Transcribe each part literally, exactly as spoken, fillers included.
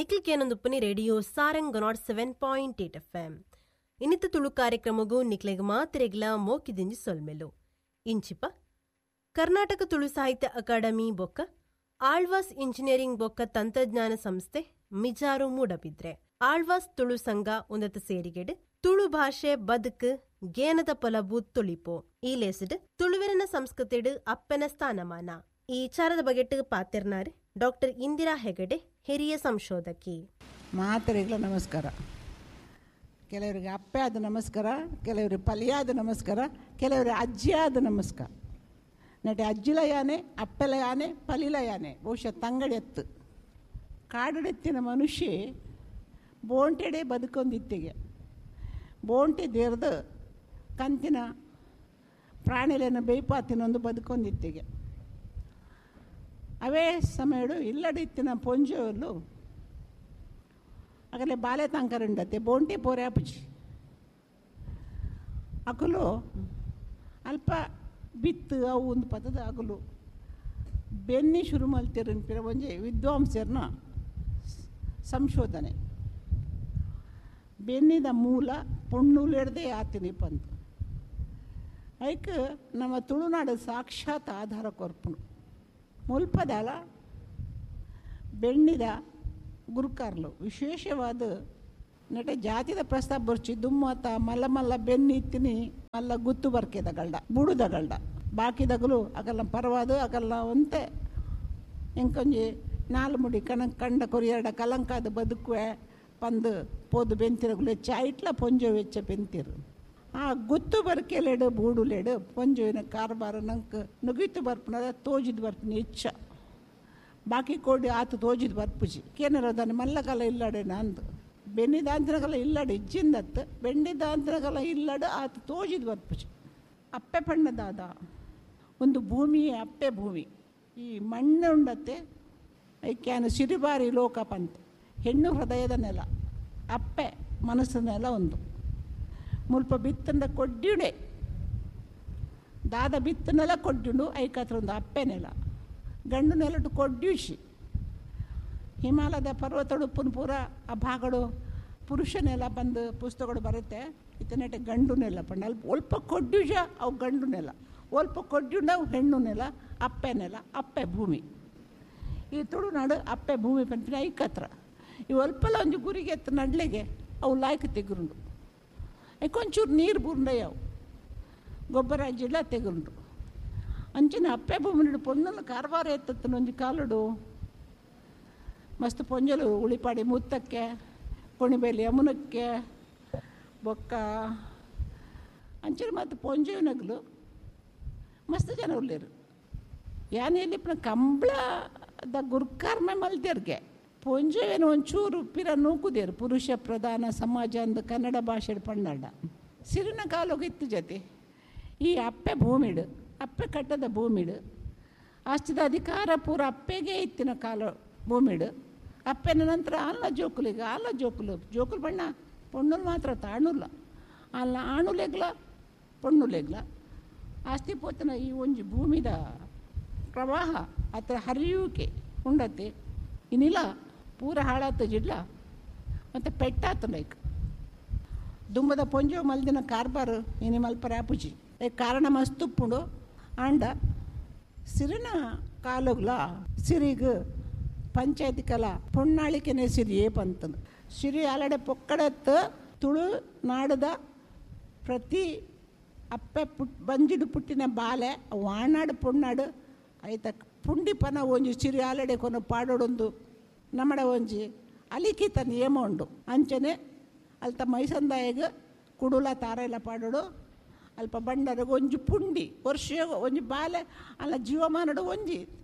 Nikhil ಕೇನೊಂದುಪ್ಪನಿ radio Sarang nought seven point eight F M. ಇನ್ನಿತ Tulu ಕಾರ್ಯಕ್ರಮಗೂ ನಿಕ್ಲೆಗ್ ಮಾತ್ರೆಗ್ಲ ಮೋಕಿದಿಂಜಿ ಸೊಲ್ಮೆಲು. ಇಂಚಿಪ ಕರ್ನಾಟಕ ತುಳು ಸಾಹಿತ್ಯ ಅಕಾಡೆಮಿ ಬೊಕ್ಕ ಆಳ್ವಾಸ್ ಇಂಜಿನಿಯರಿಂಗ್ ಬೊಕ್ಕ ತಂತ್ರಜ್ಞಾನ ಸಂಸ್ಥೆ ಮಿಜಾರು ಮೂಡಬಿದ್ರೆ ಆಳ್ವಾಸ್ ತುಳು ಸಂಘ ಉನ್ನತ ಸೇರಿಗೆಡ್ ತುಳು ಭಾಷೆ ಬದುಕು ಗೇನದ ಪೊಲಬು ತುಳಿಪೋ ಈ ಲೇಸಿಡ್ ತುಳುವೆರನ ಸಂಸ್ಕೃತಿಡ್ ಅಪ್ಪನ ಸ್ಥಾನಮಾನ ಈ ವಿಚಾರದ ಬಗೆಟ್ ಪಾತೆರ್ನಾರ್ ಡಾಕ್ಟರ್ ಇಂದಿರಾ ಹೆಗಡೆ, ಹಿರಿಯ ಸಂಶೋಧಕಿ. ಮಾತರಿಗಳ ನಮಸ್ಕಾರ. ಕೆಲವರಿಗೆ ಅಪ್ಪೆ ಆದ ನಮಸ್ಕಾರ, ಕೆಲವರಿಗೆ ಪಲಿಯಾದ ನಮಸ್ಕಾರ, ಕೆಲವರಿಗೆ ಅಜ್ಜಿಯಾದ ನಮಸ್ಕಾರ. ನಟ ಅಜ್ಜಿಲ ಯಾನೆ, ಅಪ್ಪೆಲ ಯಾನೆ, ಪಲಿಲ ಯಾನೆ, ಬಹುಶಃ ತಂಗಡೆತ್ತು ಕಾಡಡೆತ್ತಿನ ಮನುಷ್ಯ ಬೋಂಟೆಡೆ ಬದುಕೊಂದಿತ್ತಿಗೆ ಬೋಂಟೆ ದೇರ್ದು ಕಂತಿನ ಪ್ರಾಣಿಲೆನ ಬೇಯ್ಪಾತಿನೊಂದು ಬದುಕೊಂದಿತ್ತಿಗೆ. ಅವೇ ಸಮಯಡು ಇಲ್ಲಡಿತ್ತಿನ ಪೊಂಜೋಲು ಆಗಲೇ ಬಾಲೆ ತಂಕರುಂಡತ್ತೆ ಬೋಂಟೆ ಪೋರೆ ಅಪುಜಿ ಅಕಲು ಅಲ್ಪ ಬಿತ್ತು ಅವು ಒಂದು ಪದದ ಅಗಲು ಬೆನ್ನಿ ಶುರು ಮಲ್ತಿರನ್ಪಿರ ಒಂಜಿ ವಿದ್ವಾಂಸರ್ನ ಸಂಶೋಧನೆ. ಬೆನ್ನಿದ ಮೂಲ ಪೊಣ್ಣುಲೆಡ್ದೇ ಆತಿನಿ ಪಂತು ಐಕ್ ನಮ್ಮ ತುಳುನಾಡು ಸಾಕ್ಷಾತ್ ಆಧಾರ ಕೊರ್ಪುನು. ಮುಲ್ಪದಲ ಬೆಣ್ಣಿದ ಗುರುಕಾರ್ಲು ವಿಶೇಷವಾದ ನಟ ಜಾತಿದ ಪ್ರಸ್ತಾಪ ಬರ್ಚಿ ದುಮ್ಮತ ಮಲ್ಲ ಮಲ್ಲ ಬೆನ್ನಿ ಇತ್ತಿನಿ ಮಲ್ಲ ಗುತ್ತು ಬರ್ಕೆದಗಲ್ಡ ಬುಡುದಗಲ್ಡ ಬಾಕಿದಗಲು ಅಗಲ್ಲ ಪರವಾದು ಅಗಲ್ಲ ಒಂತೆ ಎಂಕೊಂಜಿ ನಾಲು ಮುಡಿ ಕಣ ಕಂಡ ಕೊರಿಯರಡ ಕಲಂಕಾದ ಬದುಕುವೆ ಪಂದು ಪೋದು ಬೆಂತಿರಗುಲು ಹೆಚ್ಚ ಐಟ್ಲ ಪೊಂಜೋ ವೆಚ್ಚ ಬೆಂತಿರು. ಆ ಗುತ್ತು ಬರ್ಕೆಲೆಡು ಬೂಡುಲೆಡು ಪೊಂಜೋವಿನ ಕಾರ್ಬಾರ ನಂಗೆ ನುಗಿತು ಬರ್ಪುನದ ತೋಜಿದ್ ಬರ್ಪುನ ಹೆಚ್ಚ ಬಾಕಿ ಕೋಡಿ ಆತು ತೋಜಿದ್ ಬರ್ಪುಜಿ ಕೇನರೋದನ್ನು ಮಲ್ಲಕಲ ಇಲ್ಲಡೆ ನಂದು ಬೆನ್ನಿದಾಂತನಗಲ ಇಲ್ಲಡು ಇಜ್ಜಿಂದತ್ತು ಬೆಂಡಿದಾಂತನಗಲ ಇಲ್ಲಡು ಆತು ತೋಜಿದ್ ಬರ್ಪುಜಿ. ಅಪ್ಪೆ ಪಣ್ಣದಾದ ಒಂದು ಭೂಮಿಯೇ ಅಪ್ಪೆ ಭೂಮಿ. ಈ ಮಣ್ಣು ಉಂಡತ್ತೆ ಐಕ್ಯಾನ ಸಿರಿಬಾರಿ ಲೋಕ ಪಂತ ಹೆಣ್ಣು ಹೃದಯದ ನೆಲ ಅಪ್ಪೆ ಮನಸ್ಸಿನ ನೆಲ ಒಂದು ಮುಲ್ಪ ಬಿತ್ತಂದ ಕೊಡ್ಡಿಡೆ ದಾದ ಬಿತ್ತ ನೆಲ ಕೊಡ್ಡಿಂಡು ಐಕಾತ್ರ ಒಂದು ಅಪ್ಪೆ ನೆಲ ಗಂಡು ನೆಲಟು ಕೊಡ್ಡಿಸಿ ಹಿಮಾಲಯದ ಪರ್ವತಡುಪ್ಪನ ಪೂರ ಆ ಭಾಗಡು ಪುರುಷ ನೆಲ ಬಂದು ಪುಸ್ತಕಗಳು ಬರುತ್ತೆ. ಇತನೆಟ ಗಂಡು ನೆಲ ಪಂಡ ಅಲ್ಪ ಒಲ್ಪ ಕೊಡ್ಡಿಜ ಅವು ಗಂಡು ನೆಲ, ಒಲ್ಪ ಕೊಡ್ಡಿಂಡು ಅವು ಹೆಣ್ಣು ನೆಲ, ಅಪ್ಪೆ ನೆಲ, ಅಪ್ಪೆ ಭೂಮಿ. ಈ ತುಳುನಾಡು ಅಪ್ಪೆ ಭೂಮಿ ಪಂಪಿನ ಐಕತ್ರ ಈ ಒಲ್ಪಲ ಒಂಜಿ ಗುರಿಗೆ ಎತ್ತ ನಡ್ಲೆಗೆ ಅವು ಲಾಯ್ಕ್ ತೆಗುರುಂಡು. ಕೊಂಚೂರು ನೀರು ಬೂರ್ಂಡಯ್ಯವು ಗೊಬ್ಬರ ಜಿಲ್ಲ ತೆಗುರುಂಡು. ಅಂಚಿನ ಅಪ್ಪೆ ಭೂಮಿ ಪೊಣ್ಣಲು ಕಾರ್ಬಾರ ಎತ್ತತ್ತನ ಒಂಜಿ ಕಾಲುಡು ಮಸ್ತ್ ಪೊಂಜಲು ಉಳಿಪಾಡಿ ಮುತ್ತಕ್ಕೆ ಕೊಣಿಬೇಲಿ ಯಮುನಕ್ಕೆ ಬೊಕ್ಕ ಅಂಚಿನ ಮತ್ತು ಪೊಂಜೆನಗಲು ಮಸ್ತ್ ಜನ ಉಳ್ಳೇರು. ಯಾನೆಯಲ್ಲಿ ಕಂಬಳದ ಗುರ್ಕಾರ್ಮೆ ಮಲ್ದೇರ್ಗೆ ಪೊಂಜೆವೇನು ಒಂಚೂರು ಪಿರ ನೂಕುದೇರು ಪುರುಷ ಪ್ರಧಾನ ಸಮಾಜ ಅಂದು ಕನ್ನಡ ಭಾಷೆ ಪಂಡಾಡ ಸಿರಿನ ಕಾಲೋಗಿತ್ತು ಜೊತೆ. ಈ ಅಪ್ಪೆ ಭೂಮಿಡು ಅಪ್ಪೆ ಕಟ್ಟದ ಭೂಮಿಡು ಆಸ್ತಿದ ಅಧಿಕಾರ ಪೂರ ಅಪ್ಪೆಗೆ ಇತ್ತಿನ ಕಾಲ ಭೂಮಿಡು. ಅಪ್ಪೆನ ನಂತರ ಅಲ್ಲ ಜೋಕುಲಿಗೆ ಅಲ್ಲ ಜೋಕುಲು ಜೋಕುಲು ಬಣ್ಣ ಪೊಣ್ಣುಲು ಮಾತ್ರ ತಾಣುಲ್ಲ ಅಲ್ಲ ಆಣುಲೆಗ್ಲ ಪೊಣ್ಣುಲೆಗ್ಲ ಆಸ್ತಿ ಪೋತನ ಈ ಒಂಜಿ ಭೂಮಿದ ಪ್ರವಾಹ ಅತ್ರ ಹರಿಯುವಿಕೆ ಉಂಡತ್ತೆ ಇನ್ನಿಲ್ಲ ಪೂರ ಹಾಳಾತ ಜಿಡ್ಲ ಮತ್ತು ಪೆಟ್ಟಾತು ಲೈಕ್ ದುಂಬದ ಪೊಂಜೋ ಮಲ್ದಿನ ಕಾರ್ಬಾರು ಇನಿ ಮಲ್ಪರ ಆಪುಜಿ ಕಾರಣ ಮಸ್ತುಪ್ಪುಂಡು. ಆಂಡ ಸಿರಿನ ಕಾಲುಗ್ಲ ಸಿರಿಗ್ ಪಂಚಾಯತಿ ಕಲ ಪೊಣ್ಣಾಳಿಕೆನೆ ಸಿರಿಯೇ ಪಂತಂದು ಸಿರಿ ಅಲಡೆ ಪೊಕ್ಕಡತ್ತು ತುಳು ನಾಡದ ಪ್ರತಿ ಅಪ್ಪೆ ಪುಟ್ ಬಂಜಿಡು ಪುಟ್ಟಿನ ಬಾಲೆ ವಾಣಾಡು ಪೊಣ್ಣಾಡು ಐತ ಪುಂಡಿಪನ ಒಂಜಿ ಸಿರಿ ಆಲಡೆ ಕೊನ ಪಾಡೋಡೊಂದು ನಮ್ಮಡ ಒಂಜಿ ಅಲಿಖಿತ ನಿಯಮ ಉಂಡು. ಅಂಚನೆ ಅಲ್ತ ಮೈಸಂದಾಯಗ ಕುಡುಲ ತಾರೆಲ್ಲ ಪಾಡೋಡು ಅಲ್ಪ ಬಂಡರಗ ಒಂಜಿ ಪುಂಡಿ ವರ್ಷ ಒಂಜಿ ಬಾಲೆ ಅಲ್ಲ ಜೀವಮಾನಡು ಒಂಜಿ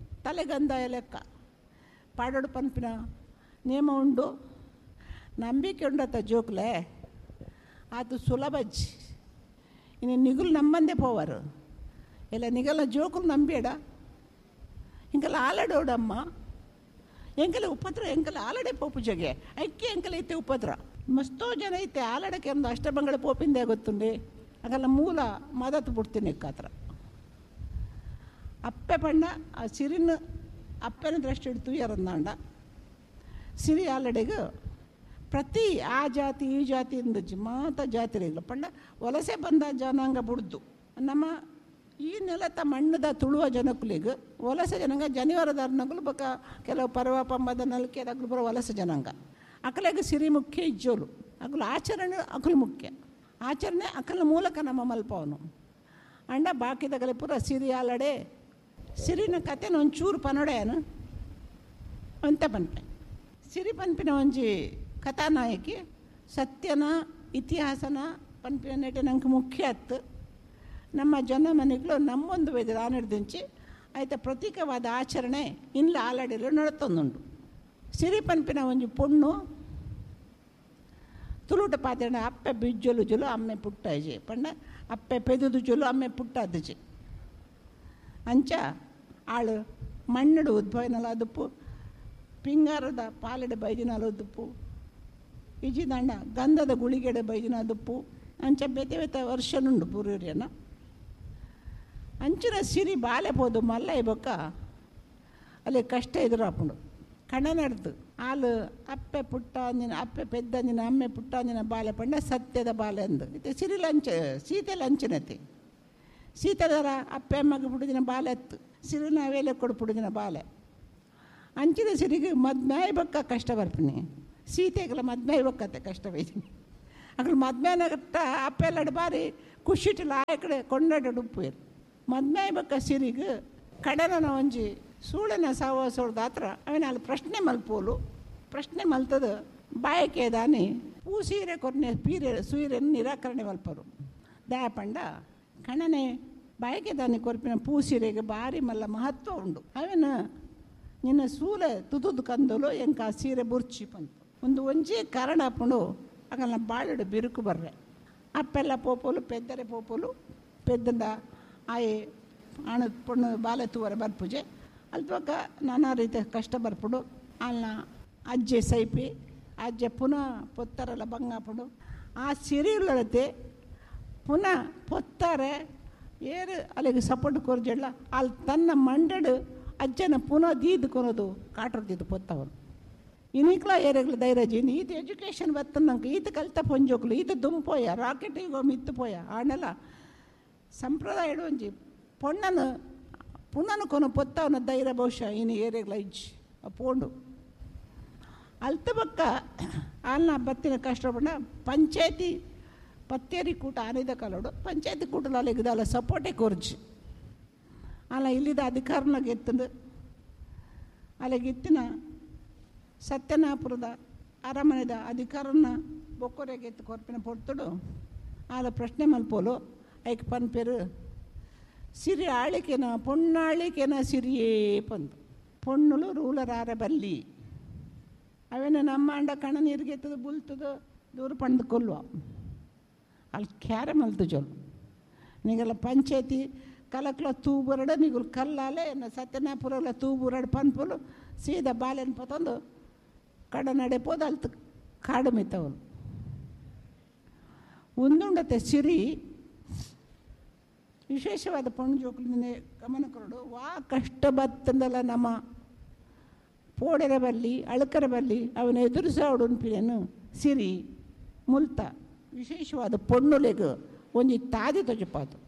ತಲೆಗಂದಾಯ ಲೆಕ್ಕ ಪಾಡೋಡು ಪನ್ಪಿನ ನಿಯಮ ಉಂಡು. ನಂಬಿಕೆ ಉಂಡತ್ತ ಜೋಕ್ಲೆ ಆತು ಸುಲಭಜ್ಜಿ ಇನ್ನು ನಿಗುಲು ನಮ್ಮಂದೇ ಪೋವರು ಎಲ್ಲ ನಿಗಲ ಜೋಕುಲು ನಂಬೇಡ ಇಂಕಲ ಆಲಡೋಡಮ್ಮ ಎಂಕಲ ಉಪದ್ರ ಎಂಕಲ ಆಲಡೆ ಪೋಪು ಜಗೆ ಐಕ್ಕೆ ಎಂಕಲ ಐತೆ ಉಪದ್ರ ಮಸ್ತೋ ಜನ ಐತೆ ಆಲಡಕ್ಕೆ ಒಂದು ಅಷ್ಟಬಂಗಳ ಪೋಪಿಂದೆ ಗೊತ್ತುಂಡೆ ಆಗಲ್ಲ ಮೂಲ ಮದತ್ತು ಬಿಡ್ತೀನಿ ಕಾತ್ರ ಅಪ್ಪೆ ಪಣ್ಣ ಆ ಸಿರಿನ ಅಪ್ಪೆನ ದೃಷ್ಟಿ ಹಿಡ್ತು ಎರಂದಾಂಡ ಸಿರಿ ಆಲಡೆಗೆ ಪ್ರತಿ ಆ ಜಾತಿ ಈ ಜಾತಿ ಇಂದಜ್ಜಿ ಮಾತ ಜಾತಿರಿಲ್ಲ ಪಂಡ ವಲಸೆ ಬಂದ ಜನಾಂಗ ಬುಡ್ದು ನಮ್ಮ ಈ ನೆಲತ ಮಣ್ಣದ ತುಳುವ ಜನಕುಲಿಗೆ ವಲಸೆ ಜನಾಂಗ ಜನಿವಾರದಾರನಗುಲು ಬಕ ಕೆಲವು ಪರ್ವ ಪಂಬದ ನಲ್ಕೆ ಅಗ್ಲು ಬರೋ ವಲಸೆ ಜನಾಂಗ ಅಕಲೆಗೆ ಸಿರಿ ಮುಖ್ಯ ಇಜ್ಜೋಲು ಅಗಲು ಆಚರಣೆ ಅಕಲು ಮುಖ್ಯ ಆಚರಣೆ ಅಕಲ ಮೂಲಕ ನಮ್ಮ ಮಲ್ಪವನು ಅಂಡ ಬಾಕಿದಗಲೆ ಪೂರ ಸಿರಿ ಆಲಡೆ ಸಿರಿನ ಕತೆನ ಒಂಚೂರು ಪನೊಡೆಯನು ಅಂತ ಪನ್ಪೆ ಸಿರಿ ಪನ್ಪಿನ ಒಂಜಿ ಕಥಾನಾಯಕಿ ಸತ್ಯನ ಇತಿಹಾಸನ ಪನ್ಪಿನ ನೆಟೆ ನಂಗೆ ಮುಖ್ಯ ಅತ್ತು ನಮ್ಮ ಜನ ಮನೆಗಳು ನಮ್ಮೊಂದು ವೇದ ಆಯ್ತ ಪ್ರತೀಕವಾದ ಆಚರಣೆ ಇನ್ಲ ಆಲಡೆಲು ನಡತೊಂದುಂಡು. ಸಿರಿ ಪನ್ಪಿನ ಒಂಜಿ ಪೊಣ್ಣು ತುಳುಟ ಪಾತ್ರೆ ಅಪ್ಪೆ ಬಿಜ್ಜೊಲು ಜೊಲು ಅಮ್ಮೆ ಪುಟ್ಟಾಜೆ ಪಂಡ ಅಪ್ಪೆ ಪೆದುದು ಜೊಲು ಅಮ್ಮೆ ಪುಟ್ಟಾದಜೆ ಅಂಚ ಆಳು ಮಣ್ಣಡು ಉದ್ಭವನಲ ಅದುಪ್ಪು ಪಿಂಗಾರದ ಪಾಲೆಡೆ ಬೈದಿನಲ ಉದುಪ್ಪು ಇಜಿದಂಡ ಗಂಧದ ಗುಳಿಗೆಡೆ ಬೈದಿನ ಅದುಪ್ಪು ಅಂಚ ಬೇತೆ ಬೇತೆ ವರ್ಷನುಂಡು ಪೂರ್ಯನ ಅಂಚಿನ ಸಿರಿ ಬಾಲೆ ಪೋದು ಮಲ್ಲ ಇಬೊಕ್ಕ ಅಲ್ಲಿ ಕಷ್ಟ ಎದುರಾಪುಂಡು ಕಣ ನಡೆದು ಆಲು ಅಪ್ಪೆ ಪುಟ್ಟ ಅಂಜಿನ ಅಪ್ಪೆ ಪೆದ್ದಂಜಿನ ಅಮ್ಮೆ ಪುಟ್ಟ ಅಂಜಿನ ಬಾಲೆ ಪಂಡ ಸತ್ಯದ ಬಾಲೆ ಅಂದು ಇತ್ತೆ ಸಿರಿ ಲಂಚ ಸೀತೆ ಲಂಚನತೆ ಸೀತೆದರ ಅಪ್ಪೆ ಅಮ್ಮಗೆ ಪುಡಿದಿನ ಬಾಲೆ ಅತ್ತು ಸಿರಿನ ವೇಲೆ ಕೊಡು ಪುಡಿದಿನ ಬಾಲೆ ಅಂಚಿನ ಸಿರಿಗೆ ಮದ್ಮ್ಯಾಯ್ ಬಕ್ಕ ಕಷ್ಟ ಬರ್ಪಿನಿ ಸೀತೆಗೆಲ್ಲ ಮದ್ಮ್ಯಾಯ್ ಬಕ್ಕತ್ತೆ ಕಷ್ಟ ಬೈದಿನಿ ಅక్కడ ಮದ್ಮ್ಯಾನಗಟ್ಟ ಅಪ್ಪೆಲ್ಲಡು ಬಾರಿ ಖುಷಿಟಿಲ್ಲ ಆ ಕಡೆ ಕೊಂಡಾಡ ಉಪ್ಪು ಮದ್ಮ್ಯಾಯ್ ಬಕ್ಕ ಸಿರಿಗೆ ಕಡನ ಒಂಜಿ ಸೂಳನ ಸಾವಸೋಡ್ದ ಹತ್ರ ಅವನ ಅಲ್ಲಿ ಪ್ರಶ್ನೆ ಮಲ್ಪೋಲು ಪ್ರಶ್ನೆ ಮಲ್ತದ ಬಾಯಕೆ ದಾನಿ ಪೂ ಸೀರೆ ಕೊರ್ನೆ ಪೀರೆ ಸೂರೆಯನ್ನು ನಿರಾಕರಣೆ ಮಲ್ಪರು ದಯಾಪಂಡ ಕಣನೆ ಬಾಯಕೆ ದಾನಿ ಕೊರ್ಪಿನ ಪೂ ಸೀರೆಗೆ ಭಾರಿ ಮಲ್ಲ ಮಹತ್ವ ಉಂಡು ಅವನ ನಿನ್ನ ಸೂಲೆ ತುದುದು ಕಂದಲು ಎಂಕ ಆ ಸೀರೆ ಬುರ್ಚಿ ಬಂತು ಒಂದು ಒಂಜಿ ಕಾರಣ ಅಪ್ಪುಂಡು ಆಗಲ್ಲ ಬಾಳೆಡು ಬಿರುಕು ಬರ್ರೆ ಅಪ್ಪೆಲ್ಲ ಪೋಪೋಲು ಪೆದ್ದರೆ ಪೋಪೋಲು ಪೆದ್ದಂಡ ಆಯೆ ಆಣ ಪೊಣ್ಣು ಬಾಲೆ ತೂವರೆ ಬರ್ಪುಜೆ ಅಲ್ಪಕ್ಕ ನಾನಾ ರೀತಿಯ ಕಷ್ಟ ಬರ್ಪುಡು ಅಲ್ಲ ಅಜ್ಜೆ ಸೈಪಿ ಅಜ್ಜೆ ಪುನಃ ಪೊತ್ತಾರಲ್ಲ ಬಂಗಾಪುಡು ಆ ಸಿರಿಯುಳ್ಳತೆ ಪುನಃ ಪೊತ್ತಾರೆ ಏರು ಅಲ್ಲಿಗೆ ಸಪೋರ್ಟ್ ಕೊರ್ಜೆಡ್ಲ ಅಲ್ಲಿ ತನ್ನ ಮಂಡಡು ಅಜ್ಜನ ಪುನಃ ದೀದು ಕೊನೋದು ಕಾಟರ್ದಿದ್ದು ಪೊತ್ತವನು ಇನಿಕ್ಲ ಏರೆಗ್ಲ ಧೈರ್ಯ ಈತ ಎಜುಕೇಷನ್ ಬತ್ತನಂಕ ಈತ ಕಲ್ತ ಪೊಂಜೋಕ್ಲು ಈತ ದುಂಪೋಯ ರಾಕೆಟ್ ಈಗ ಮಿತ್ತು ಪೋಯ ಆಣೆಲ್ಲ ಸಂಪ್ರದಾಯ ಒಂಜಿ ಪೊಣ್ಣನು ಪುನನು ಕೊನ ಪೊತ್ತವನ ಧೈರ್ಯ ಬಹುಶಃ ಇನ್ನು ಏರೆಗ್ಲ ಇಜ್ಜಿ ಪೋಂಡು ಅಲ್ತ ಬಕ್ಕ ಅಲ್ಲ ಬತ್ತಿನ ಕಷ್ಟ ಪಂಡ ಪಂಚಾಯತಿ ಪತ್ತೇರಿ ಕೂಟ ಆನಿದ ಕಲೋಡು ಪಂಚಾಯತಿ ಕೂಟಲ ಅಲ್ಲಿಗದಲ್ಲ ಸಪೋರ್ಟೇ ಕೊರ್ಜಿ ಅಲ್ಲ ಇಲ್ಲಿದ ಅಧಿಕಾರನಾಗ ಎತ್ತಂದು ಅಲ್ಲಿಗೆ ಎತ್ತಿನ ಸತ್ಯನಾಪುರದ ಅರಮನೆದ ಅಧಿಕಾರನ ಬೊಕ್ಕೊರೆಗೆ ಎತ್ತು ಕೊರ್ಪಿನ ಪೊರ್ತುಡು ಆಲ ಪ್ರಶ್ನೆ ಮಲ್ಪೋಲು ಐಕ್ ಪನ್ಪೇರು ಸಿರಿ ಆಳಿಕೆನ ಪೊಣ್ಣಾಳಿಕೆನ ಸಿರಿಯೇ ಪಂದು ಪೊಣ್ಣುಲು ರೂಲರ್ ಆರ ಬಲ್ಲಿ ಅವೇನ ನಮ್ಮ ಅಂಡ ಕಣ ನೀರಿಗೆ ಎತ್ತದು ಬುಲ್ತದು ದೂರ ಪಂದು ಕೊಲ್ಲುವ ಅಲ್ಲಿ ಕ್ಯಾರೆ ಮಲ್ತು ಜೋಲು ನೀಗೆಲ್ಲ ಪಂಚಾಯತಿ ಕಲಕ್ಲ ತೂಬುರಡು ನೀಗುಲು ಕಲ್ಲಾಲೆ ಸತ್ಯನಾಪುರಲ್ಲ ತೂಬುರಡು ಪನ್ಪುಲು ಸೀದಾ ಬಾಲೆನ್ ಪತ್ತೊಂದು ಕಡ ನಡೆ ಪೋದು ಅಲ್ತು ಕಾಡು ಮಿತ್ತವನು ಒಂದುಂಡತೆ ಸಿರಿ ವಿಶೇಷವಾದ ಪೊಣ್ಣು ಜೋಕುಲಿಂದ ಗಮನ ಕೊರಡು ವಾ ಕಷ್ಟ ಬತ್ತಂದಲ್ಲ ನಮ್ಮ ಪೋಡೆರ ಬಲ್ಲಿ ಅಳಕರ ಬಲ್ಲಿ ಅವನ ಎದುರಿಸೋಡು ಸಿರಿ ಮುಲ್ತ ವಿಶೇಷವಾದ ಪೊಣ್ಣುಲೆಗು ಒಂಜಿ ತಾದಿ ತೊಜಪಾತು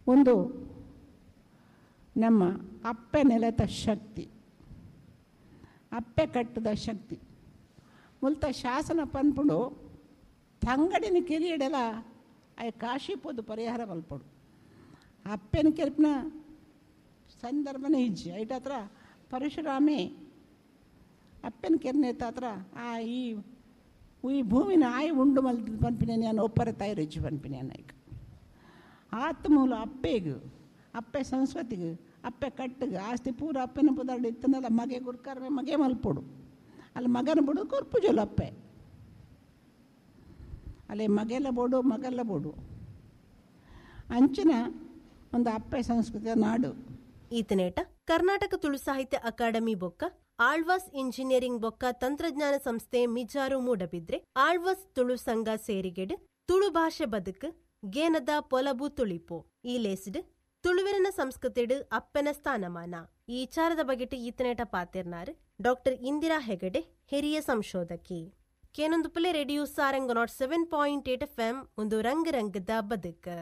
ಒಂದು ನಮ್ಮ ಅಪ್ಪೆ ನೆಲತ ಶಕ್ತಿ ಅಪ್ಪೆ ಕಟ್ಟದ ಶಕ್ತಿ ಮುಲ್ತ ಶಾಸನ ಪನ್ಪುಂಡು ತಂಗಡಿನ ಕಿರಿಯಡೆಲ ಆಯ್ ಕಾಶಿ ಪೋದು ಪರಿಹಾರ ಮಲ್ಪಡು ಅಪ್ಪೆನ ಕೆಲ್ಪಿನ ಸಂದರ್ಭನೇ ಇಜ್ಜಿ ಐಟ ಹತ್ರ ಪರಶುರಾಮೆ ಅಪ್ಪೆನ ಕೆರ್ನೆ ಹತ್ರ ಆ ಈ ಈ ಭೂಮಿನ ಆಯ್ ಉಂಡು ಮಲ್ ಪನ್ಪಿನ ನಾನು ಒಪ್ಪರ ತಾಯಿ ಪನ್ಪಿನ ಈಗ ಆತ್ಮೂಲ ಅಪ್ಪೆಗು ಅಪ್ಪೆ ಸಂಸ್ಕೃತಿಗೆ ಅಪ್ಪೆ ಕಟ್ಟಿಗೆ ಆಸ್ತಿ ಪೂರ ಅಪ್ಪೆನ ಪುದಾಡು ಇತ್ತನಲ್ಲ ಮಗೆ ಗುರ್ಕಾರಮೆ ಮಗೆ ಮಲ್ಪೊಡು ಅಲ್ಲಿ ಮಗನ ಬಿಡು ಕೊರ್ಪುಜೋಲು ಅಪ್ಪೆ ಅಲ್ಲಿ ಮಗೆಲ್ಲ ಬೋಡು ಮಗಲ್ಲ ಬೋಡು ಅಂಚಿನ ಒಂದು ಅಪ್ಪೆ ಸಂಸ್ಕೃತಿಯ ನಾಡು. ಈತನೇಟ ಕರ್ನಾಟಕ ತುಳು ಸಾಹಿತ್ಯ ಅಕಾಡೆಮಿ ಬೊಕ್ಕ ಆಳ್ವಾಸ್ ಇಂಜಿನಿಯರಿಂಗ್ ಬೊಕ್ಕ ತಂತ್ರಜ್ಞಾನ ಸಂಸ್ಥೆ ಮಿಜಾರು ಮೂಡಬಿದ್ರೆ ಆಳ್ವಾಸ್ ತುಳು ಸಂಘ ಸೇರಿಗೆಡ್ ತುಳು ಭಾಷೆ ಬದುಕು ಗೇನದ ಪೊಲಬು ತುಳಿಪು ಈ ಲೇಸ್ಡ್ ತುಳುವೆರನ ಸಂಸ್ಕೃತಿಡು ಅಪ್ಪೆನ ಸ್ಥಾನಮಾನ ಈ ವಿಚಾರದ ಬಗೆಟ್ ಈತನೇಟ ಪಾತಿರ್ನಾರ್ ಡಾಕ್ಟರ್ ಇಂದಿರಾ ಹೆಗಡೆ ಹಿರಿಯ ಸಂಶೋಧಕಿ. ಕೇನೊಂದು Phule radio Sarang nought seven point eight F M ಒಂದು ರಂಗ ರಂಗದ ಬದುಕು.